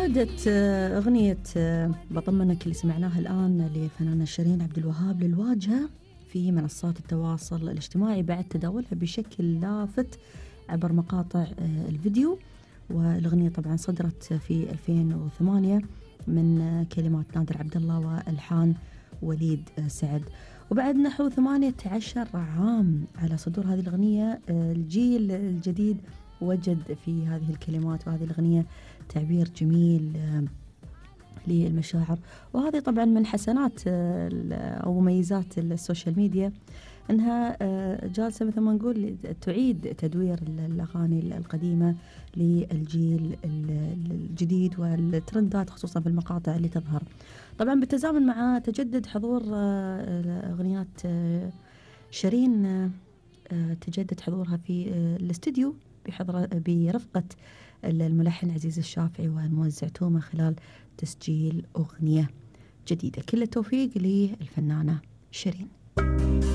عادت أغنية بطمنك اللي سمعناها الآن لفنانة شيرين عبد الوهاب للواجهة في منصات التواصل الاجتماعي بعد تداولها بشكل لافت عبر مقاطع الفيديو. والأغنية طبعا صدرت في 2008 من كلمات نادر عبد الله وألحان وليد سعد. وبعد نحو 18 عام على صدور هذه الأغنية، الجيل الجديد وجد في هذه الكلمات وهذه الأغنية تعبير جميل للمشاعر. وهذه طبعا من حسنات أو مميزات السوشيال ميديا، أنها جالسة مثل ما نقول تعيد تدوير الأغاني القديمة للجيل الجديد والترندات، خصوصا في المقاطع اللي تظهر. طبعا بالتزامن مع تجدد حضور أغنيات شيرين، تجدد حضورها في الاستديو برفقة الملحن عزيز الشافعي والموزع تومة خلال تسجيل أغنية جديدة. كل التوفيق للفنانة شيرين.